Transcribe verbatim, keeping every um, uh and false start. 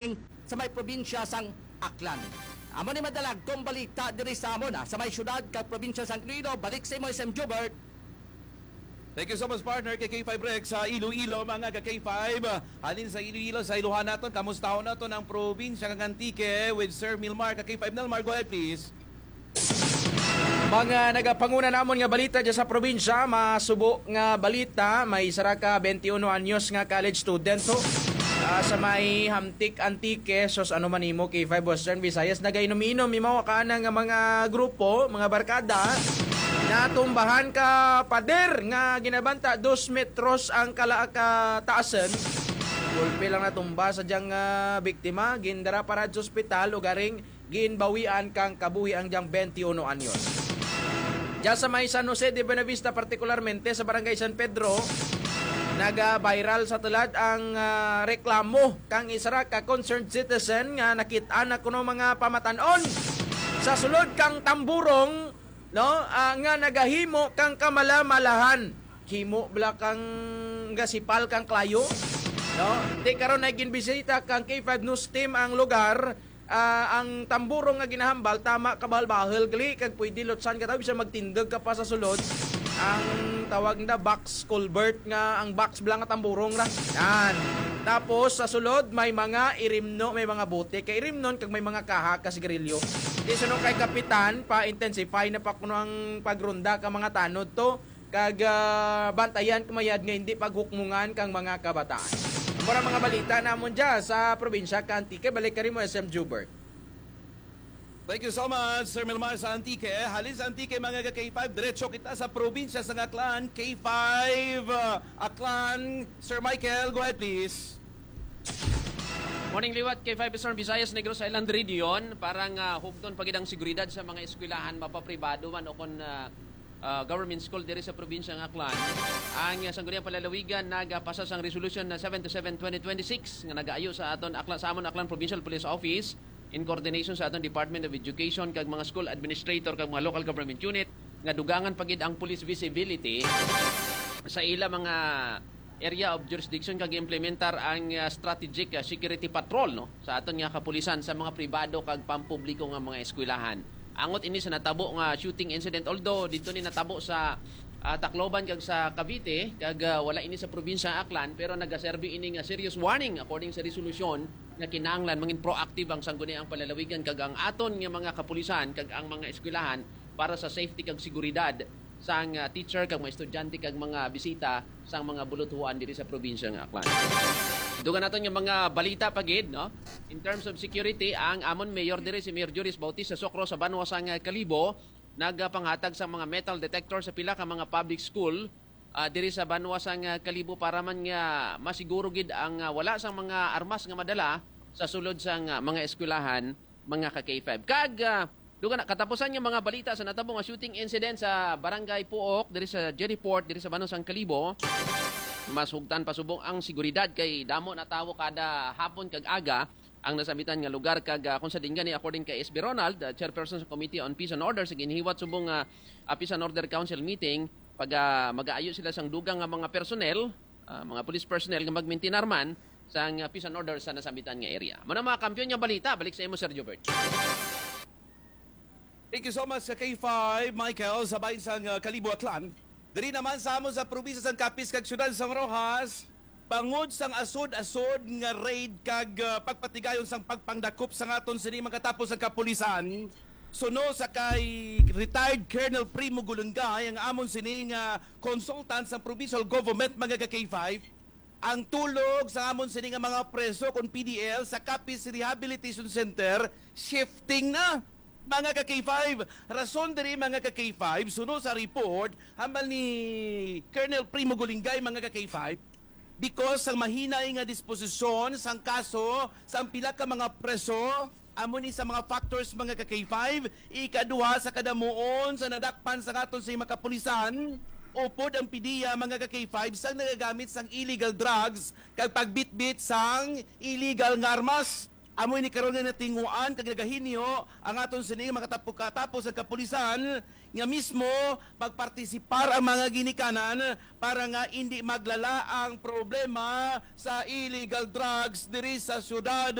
sa may probinsya sang Aklan. Amo ni madala ang balita diri sa amon, ah, sa may syudad kag probinsya sang Iloilo. Balik sa imo, S M Jubert. Thank you so much, partner, kay K five Rex sa Iloilo, mga ka K five. Halin sa Iloilo, sa Ilohan naton, kamustahon naton ang probinsya kang Antique with Sir Milmar. Ka K five Milmar, go ahead, please. Mga nagapanguna namon nga balita dyan sa probinsya, masubo nga balita, may isa ra ka twenty-one anyos nga college student ho. Ah, sa may Hamtic, Antique, sos ano man nimo, K five Western Visayas, nagainom-inom, imaw ka na nga mga grupo, mga barkada, natumbahan ka pader nga ginabanta dos metros ang kala kataasan. Gulpi lang natumba sa diyang ah, biktima, gindara para sa ospital, ugaring ginbawian kang kabuhi ang diyang twenty-one anyos. Diya sa may San Jose de Buenavista, partikularmente sa Barangay San Pedro, naga-viral sa tulad ang ah, reklamo kang isa ra ka concerned citizen nga nakit-an na kuno mga pamatan-on sa sulod kang tamburong, no, ah, nga nagahimo kang kamalamalahan. Himo bala kang gasipal kang klayo, no? Di karon ay ginbisita kang K five News Team ang lugar. Ah, ang tamburong nga ginahambal, tama, kabahal-bahal gali, kag pwede lutsan ka tawo, bisan magtindog ka pa sa sulod. Ang tawag na box culvert, nga ang box bala nga tamburong ra. Yan. Tapos sa sulod may mga irimno, may mga bote kay irimnon, kag may mga kaha ka sigarilyo. Di suno kay kapitan, pa-intensify na pa kuno ang pagronda ka mga tanod to, kag ah, bantayan kumayad nga hindi paghukmungan kang mga kabataan. Mura mga balita namon dya sa probinsya ka Antique. Balik ka rin mo, S M Jubert. Thank you so much, Sir Milmar sa Antique. Halin sa Antique, mga ka K five, diretso kita sa probinsya sa Aklan, K five, uh, Aklan. Sir Michael, go ahead, please. Morning liwat, K five Eastern Visayas, Negros Island Region. Para nga hugton pa gid ang seguridad sa mga eskwelahan, mapapribado man o kon ah, ah, government school diri sa probinsya nga Aklan. Ang ah, Sangguniang Palalawigan nagapasa sang resolution na seven to seven twenty twenty-six nga nagaayo sa aton Aklan, sa amon Aklan Provincial Police Office in coordination sa aton Department of Education kag mga school administrator kag mga local government unit nga dugangan pa gid ang police visibility sa ila mga area of jurisdiction kag implementar ang ah, strategic ah, security patrol, no, sa aton nga kapulisan sa mga pribado kag pampubliko nga mga eskwelahan. Angot ini sa natabo nga shooting incident, although dito ni natabo sa ah, Tacloban kag sa Cavite, kag ah, wala ini sa probinsya Aklan, pero nagaserbi ini nga serious warning according sa resolusyon nga kinahanglan mangin proactive ang Sangguniang Palalawigan kag ang aton nga mga kapulisan kag ang mga eskwelahan para sa safety kag seguridad sang ah, teacher kag mga estudyante kag mga bisita sang mga buluthuan diri sa probinsya nga Aklan. Dugan naton nga mga balita pa gid, no? In terms of security, ang amon mayor diri si Mayor Juris Bautista Socro sa banwa sang ah, Kalibo nagapanghatag sa mga metal detector sa pila ka mga public school ah, diri sa banwa sang ah, Kalibo para man nga masiguro gid ang ah, wala sang mga armas nga madala sa sulod sang ah, mga eskwelahan, mga ka K five. Kag ah, duga na, katapusan nga mga balita sa natabo nga shooting incident sa Barangay Puok diri sa Jerryport diri sa banwa sang Kalibo. Mas hugtan pa subong ang seguridad kay damo na tawo kada hapon kag aga ang nasambitan nga lugar kag ah, kung sa din gani, according kay S B Ronald, ah, chairperson sa Committee on Peace and Order, sa ginhiwat subong nga ah, Peace and Order Council meeting, pag ah, magaayo sila sang dugang nga mga personnel, ah, mga police personnel nga magmintinar man sang ah, peace and order sa nasambitan nga area. Muna mga kampiyon nga balita, balik sa imo, Sir Jobert. Thank you so much sa K five, Michael, sa bahin sang uh, Kalibo, Aklan. Diri naman sa amo sa probinsya sang Capiz kag siyudad sang Roxas, bangod sang asod-asod nga raid kag uh, pagpatigayon sang pagpangdakop sa aton sini makatapos ang kapulisan. Suno sa kay retired Colonel Primo Gulungay, ang amon sini nga consultant sa provincial government, mga ka K five, ang tulog sa amon sini nga mga preso kon P D L sa Capiz Rehabilitation Center shifting na, mga ka K five. Rason diri, mga ka K five, suno sa report hambal ni Colonel Primo Gulingay, mga ka K five, because sang mahinay nga disposisyon sang kaso sang pila ka mga preso. Amo ni sa mga factors, mga ka K five. Ikaduha sa kadamuon sa nadakpan sa aton sa mga kapulisan, upod ang PDEA, mga ka K five, sang nagagamit sang illegal drugs kag pagbitbit sang illegal nga armas. Amo ini karon nga natinguan kag nagahinyo ang aton sini makatapo-, katapos ang kapulisan nga mismo pagpartisipar ang mga ginikanan para nga indi maglala ang problema sa illegal drugs diri sa siyudad